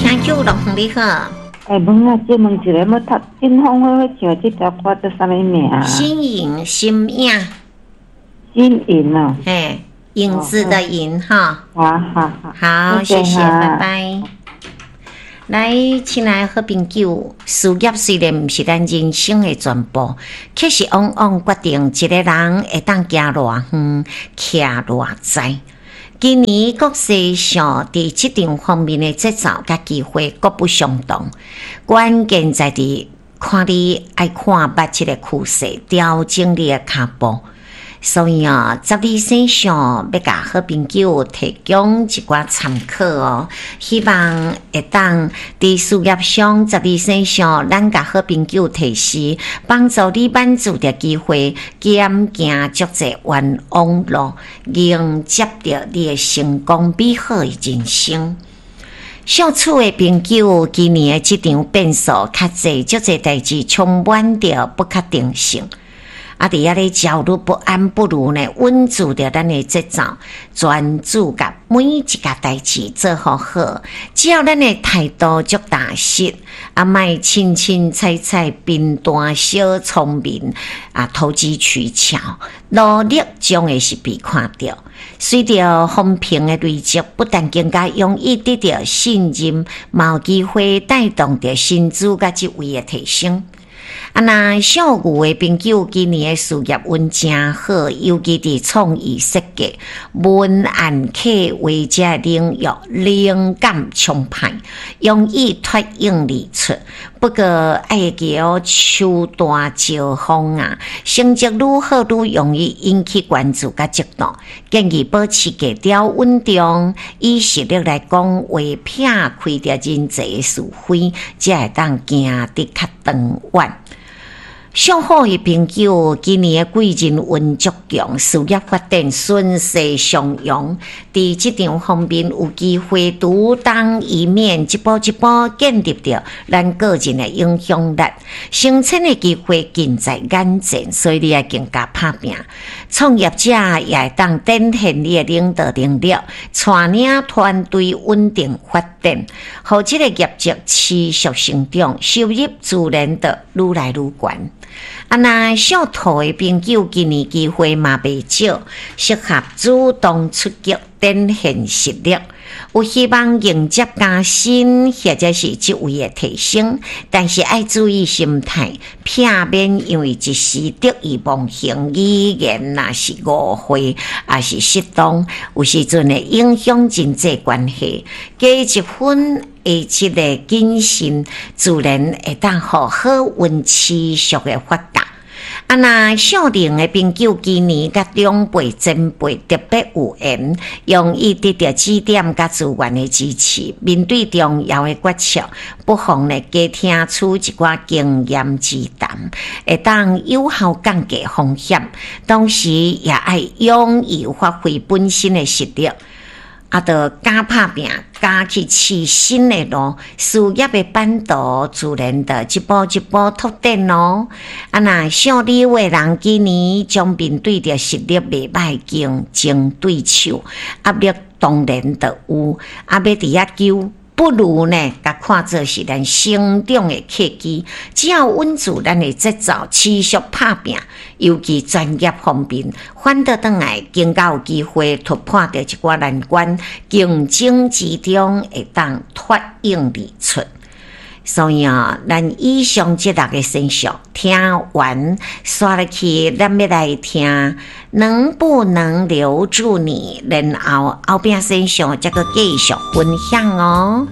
聽友樂你好。欸，問啊，借問一下，欲讀金風火火唱這條歌叫啥物名？新穎新影。新穎啊。嘿，影子的影哈。好好好。好，謝謝，拜拜。來，親愛的好朋友，事業雖然毋是咱人生的全部，卻是往往決定一個人會當行偌遠、徛偌在。今年國際上佇職場方面的節奏佮機會各不相同，關鍵在佇看你愛看捌這個趨勢，調整你的跤步。所以啊，十二生肖欲共好朋友提供一寡參考哦，希望會當佇事業上十二生肖，咱共好朋友提示，幫助你挽住著機會，減行足濟冤枉路，迎接著你的成功美好的人生。屬鼠的朋友，今年的職場變數較濟，足濟代誌充滿著不確定性。啊！佇遐咧焦慮不安，不如呢穩住著咱的節奏，專注共每一個代誌做好好。只要咱的態度足踏實，啊，莫凊凊彩彩、貧惰小聰明啊，投機取巧，努力將會是被看著。隨著風評的累積，不但更加容易得著信任，嘛有機會帶動著薪資佮職位的提升。啊，若屬牛的朋友，今年的事業運誠好，尤其佇創意設計、文案策劃這領域，靈感充沛，容易脫穎而出。不過愛會記哦，樹大招風啊，成績愈好愈容易引起關注佮嫉妒。建議保持低調穩重，以實力來講話，撇開著人際是非，才會當行得較長遠。屬虎的朋友，今年的貴人運足強，事業發展順勢上揚，佇職場方面有機會獨當一面，一步一步建立著咱個人的影響力，升遷的機會近在眼前，所以你愛更加拍拚。創業者也會當展現你的領導能力，帶領團隊穩定發展，予這個業績持續成長，收入自然就愈來愈懸。啊，若屬兔的朋友，今年機會嘛袂少，適合主動出擊，展現實力，有希望迎接加薪或者是職位的提升，但是愛注意心態，避免因為一時得意忘形，語言若是誤會，抑是失當，有時陣會影響人際關係。加一分的這個謹慎，自然會當予好運持續的發達。啊，若屬龍的朋友，今年佮長輩前輩特別有緣，容易得著指點佮資源的支持。面對重要的決策，不妨呢加聽取一寡經驗之談，會當有效降低風險。同時也愛勇於發揮本身的實力。啊，著敢拍拚，敢去試新的路，事業的版圖自然就一步一步拓展囉。啊，若屬牛的人，今年將面對著實力袂歹競爭對手，壓力當然就有。啊，欲佇遐求，不如呢，共看做是咱成長的契機。只要穩住咱的節奏，持續拍拚，尤其專業方面，反倒轉來更加有機會突破著一寡難關，競爭之中會當脫穎而出。所以啊，咱以上這六個生肖聽完，煞落去，咱欲來聽能不能留住你，然後後壁生肖才閣繼續分享哦。